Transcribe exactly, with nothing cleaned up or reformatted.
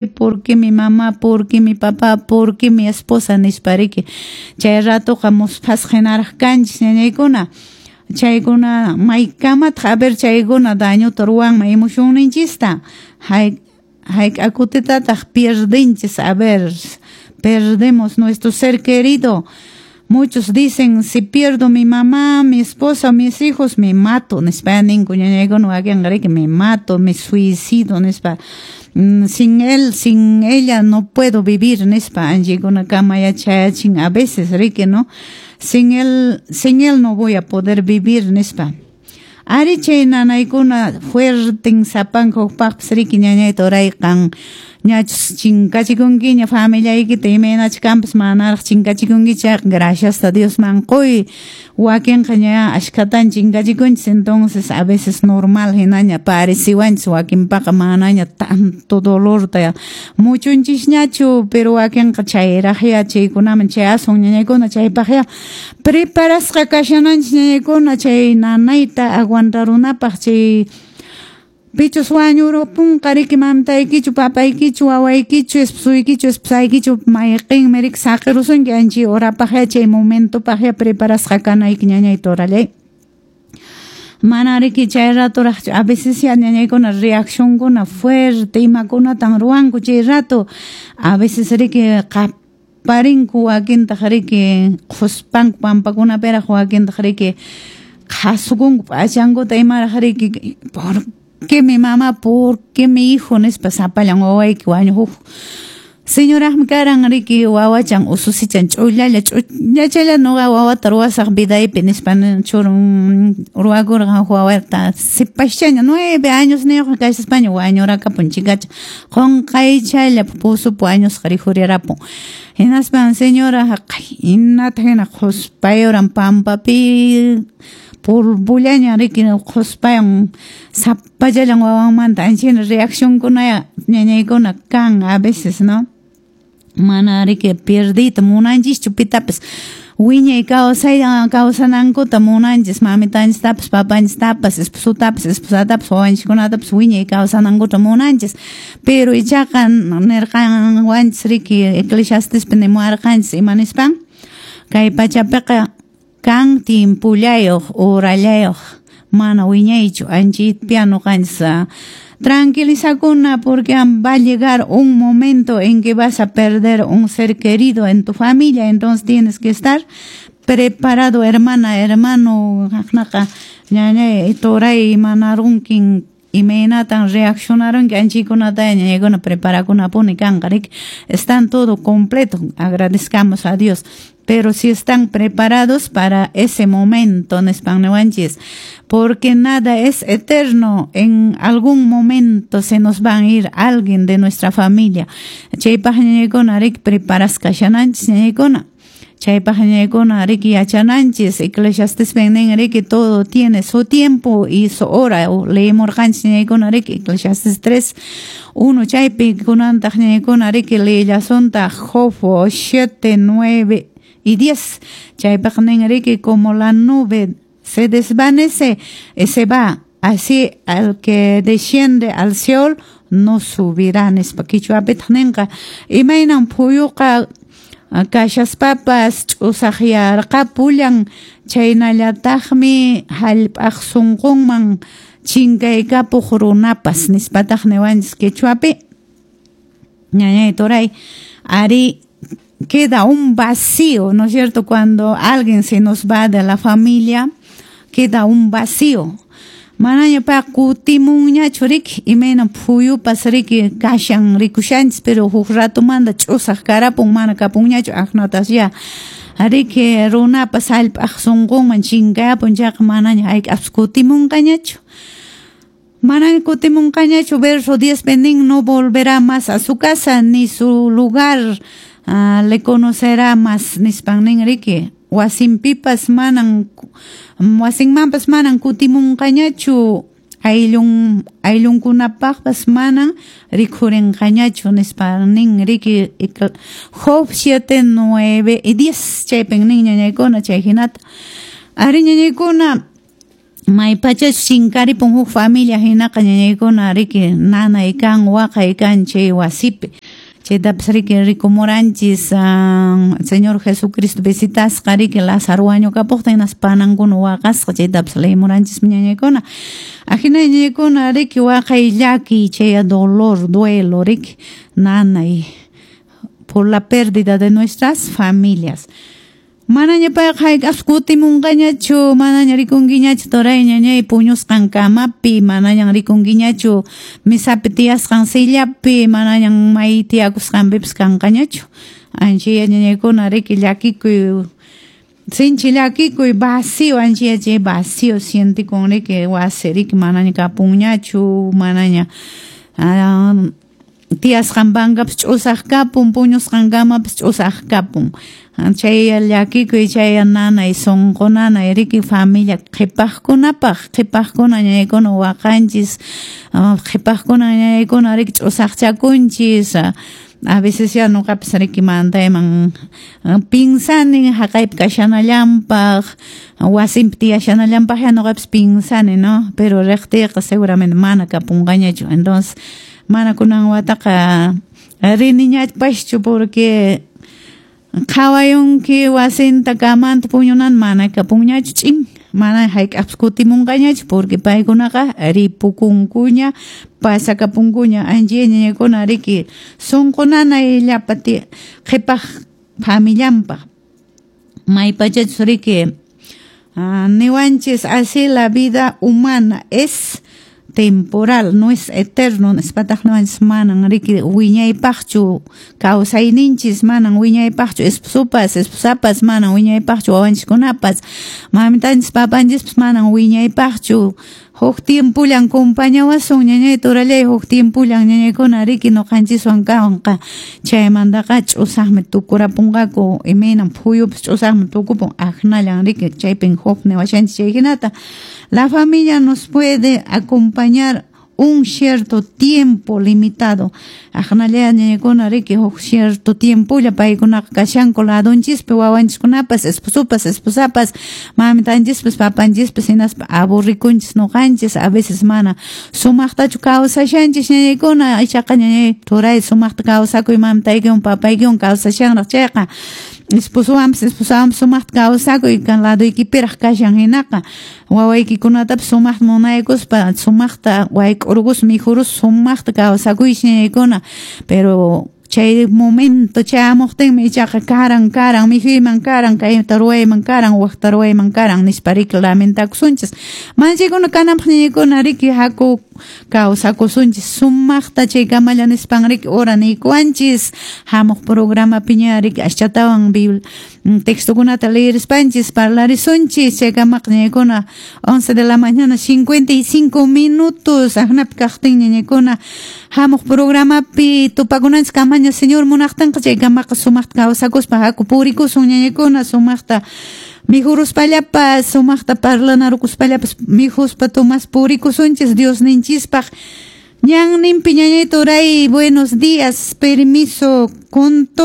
Por qué mi mamá? Por qué mi papá? Por qué mi esposa? Nispa riki. Chay ratoqa musphasqa hinaraq kanchis, ñañaykuna. Chaykuna maykamataq, a ver, chaykuna dañuta ruwanman emocionninchista. Hay hayk'a kutitataq pierdenchis, a ver, perdemos nuestro ser querido. Muchos dicen: "Si pierdo mi mamá, mi esposa, mis hijos, me mato", nispa ninku ñañaykuna wakinqa riki, "me mato, me suicido", nispa. Mm, sin él, sin ella no puedo vivir", nispa anchikunakama yachayachin a veces riki, ¿no? "Sin él, sin él no voy a poder vivir", nispa. Ari, chay nanaykuna fuerten sapanka hukpaqpas riki, ñañayta urayqan ñachus chinkachikunkiña familiaykita, imaynachu kanpas, manaraq chinkachikunki chayqa, gracias a Diosman quy. Wakinqa ña ashkhatan chinkachikunchis, entonces a veces normal hinaña pareciwanchis, wakinpaqa manaña tanto dolorta muchunchisñachu, pero wakinqa chayraqya chaykunaman chayasun, ñañaykuna. Chaypaqya preparasqa kashananchis, ñañaykuna, chay nanayta aguantarunapaq. Chay pichus wañurupunqa riki, mamitaykichu, papaykichu, wawaykichu, esposuykichu, esposaykichu, mayqinmi riki saqirusunki, anchay horapaqya, chay momentopaqya preparasqa kanayki, ñañayta orallay. Mana riki chay ratoraqchu a veces ya ñañaykuna reaccionkuna fuerte imakunatan ruwanku chay rato. A veces riki qaparinku, wakintaq riki qhuspanku pampakunapiraq, wakintaq riki qhasukunku p'achankuta imaraq riki, "¿Por qué mi mamá? Por qué mi hijo?" nispa. Sapallan wawayki wañuq. Huk señoraqmi karan riki, wawachan ususichan ch'ullalla ch'ullachalla, "Nuqa wawata ruwasaq vidaypi", nispa churun ruwakurqan wawata. Sipaschaña, nueve años niyuq kashaspaña wañurakapun chikacha, qunqaychalla pozopi wañusqa rikhurirapun. Hinaspan señora hinata hina qhuspayuran pampapi, polvollaña riki, qhuspayan sapallallan wawanmanta. Anchina reaccionkunaya, ñañaykuna, kan a veces, ¿no? Mana riki pierdiyta munanchischu pitapas, wiñay kawsay kawsanankuta munanchis, mamitanchistapas, papanchistapas, esposotapas, esposatapas, wawanchiskunatapas wiñay kawsanankuta munanchis. Pero ichaqa nirqanwanchis riki, Eclesiastespi nimuwarqanchis, ima nispan? Kay pachapiqa kan tiempollayuq, horallayuq, mana wiñaychu. Anchaypia ñuqanchis tranquilizakuna, porque va a llegar un momento en que vas a perder un ser querido en tu familia, entonces tienes que estar preparado, hermana, hermano. Aqnaqa ñañay turay, imanarunkin, imaynatan reaccionarunki, anchaykunata, ñañaykuna, preparakunapuni kanqa riki. Están todo completo, agradezcamos a Dios, pero si están preparados para ese momento, nispan niwanchis, porque nada es eterno, en algún momento se nos van a ir alguien de nuestra familia. Chaypaq, ñañaykuna, riki preparasqa kashananchis, ñañaykuna. Chaypaq, ñañaykuna, riki yachananchis, Eclesiastes nin riki, todo tiene su tiempo y su hora. Leemurqanchis, ñañaykuna, riki Eclesiastes tres, uno chaypi. Kunantaq, ñañaykuna, riki leellasuntaq Job siete, nueve y diez. Chaypaq nin riki: "Como la nube se desvanece y se va, así al que desciende al Seol no subirá", nispa. Quichuapitaq ninqa: imaynan phuyuqa kashaspapas ch'usaqyarqapullan, chaynallataqmi hallp'aq sunqunman chinkaykapuq runapas, nispataq niwanchis quechuapi, ñañay turay. Ari, queda un vacío, ¿no es cierto? Cuando alguien se nos va de la familia, queda un vacío. Manaña pa kutimunñachu riki, imayna phuyupas riki kashan, rikushanchis, pero huk ratumanta ch'usaq karapun, mana kapunñachu. Aqnatas ya riki runapas hallp'aq sunqunman chinkayapun chayqa, manaña hayk'apis kutimunqañachu. Manaña kutimunqañachu. Verso diez nin: "No volverá más a su casa, ni su lugar uh, le conocerá más", nispan nin riki. Wasinpipas manan, wasinmanpas manan kutimunqañachu, ayllun ayllunkunapaqpas manan rikhurinqañachu, nispa nin riki. Job siete, nueve y diez, chaypin nin, ñañaykuna, chay hinata. Ari, ñañaykuna, Maypachachus chinkaripun huk familia hinaqa ñañaykuna riki nanay kan waqay kan chay wasipi. Chaytapas riki rikumuranchis Señor Jesucristo visitasqa riki Lázaro wañukapuqtin hinaspa panankuna waqasqa chaytapas leyimuranchis ñañaykuna. Ajina ñañaykuna riki waqay llakiy chay dolor, duelo riki nanay por la pérdida de nuestras familias. Manaña payqa hayk'aqpas kutimunqañachu, manaña rikunkiñachu turay ñañay puñusqan kamapi, manañan rikunkiñachu misapi tiyasqan sillapi, manañan may tiyakusqanpipas kanqañachu. Ancha ñañaykuna riki llakikuy, sinchi llakikuy vacío, ancha chay vacío sientikun riki wasi riki manaña kapunñachu, manaña tiyasqan pankapas ch'usaq kapun, puñusqan kamapas ch'usaq kapun. Chay llakikuy, chay nanay, sunqu nanay riki familia qhipaqkunapaq, qhipaqkuna ñañaykuna waqanchis, qhipaqkuna ñañaykuna riki ch'usaqchakunchis. A veces ya nuqapas riki mantayman pinsani haqaypi kashanallanpaq, wasinpi tiyashanallanpaq ya nuqapas pinsani, ¿no? Pero riqtiyqa seguramente mana kapunqañachu. Entonces mana kunan wataqa riniñapaschu porque qhawayunki wasinta kamanta puñunan mana kapunñachu ch'in, mana hayk'aqpas kutimunqañachu porque paykunaqa ripukunkuña, pasakapunkuña. Ancha ñañaykuna riki sunqu nanay llapa qhipaq familianpaq. Maypachachus riki niwanchis así la vida humana es temporal, no es eterno, nispataq niwanchis manan riki wiñaypaqchu kawsayninchis, manan wiñaypaqchu esposopas, esposapas, manan wiñaypaqchu wawanchiskunapas, mamitanchis, papanchispas manan wiñaypaqchu. Huk tiempullan compañawasun ñañay turallay, huk tiempullan ñañaykuna riki ñuqanchiswan kanqa. Chaymantaqa ch'usaqmi tukurapunqaku, imaynan phuyupas ch'usaqmi tukupun, aknallan riki chaypin huk niwashanchis chay hinata. La familia nos puede acompañar un cierto tiempo limitado. Aknalla ñañaykuna riki huk cierto tiempolla paykunaqa kashanku ladonchispi, wawanchiskunapas, esposopas, esposapas, mamitanchispas, papanchispas, hinaspa aburrikunchis ñuqanchis, a veces mana sumaqtachu kawsashanchis ñañaykuna, ichaqa ñañay turay sumaqta kawsakuy mamitaykiwan papaykiwan kawsashanraq chayqa, esposowanpas esposawanpas sumaqta kawsakuy kan ladoykipiraq kashan hinaqa, wawaykikunatapas sumaqta munaykuspa sumaqta wayk'urqus mikhurus sumaqta kawsakuychis ñañaykuna. Pero chay momento chayamuqtinmi ichaqa karan karan mikhuyman karan kayta ruwayman karan waqta ruwayman karan nispa riki lamentakusunchis. Manchaykuna kananpaq ñañaykuna riki haku kawsakusunchis sumaqta chaykamalla nispan riki hora niykuwanchis. Hamuq programapiña riki aschatawan Biblia textokunata leerispanchis parlarisunchis. Chaykamaqa ñañaykuna once de la mañana cincuenta y cinco minutos aqnapi kaqtin ñañaykuna hamuq programapi tupakunanchis kamaña Señor munaqtinqa. Chaykamaqa sumaqta kawsakuspa haku purikusun ñañaykuna, sumaqta mikhuruspallapas, sumaqta parlanarukuspallapas mikhuspa tomas purikusunchis Diosninchispaq ñanninpi. Ñañay turay, buenos días, permiso con todo.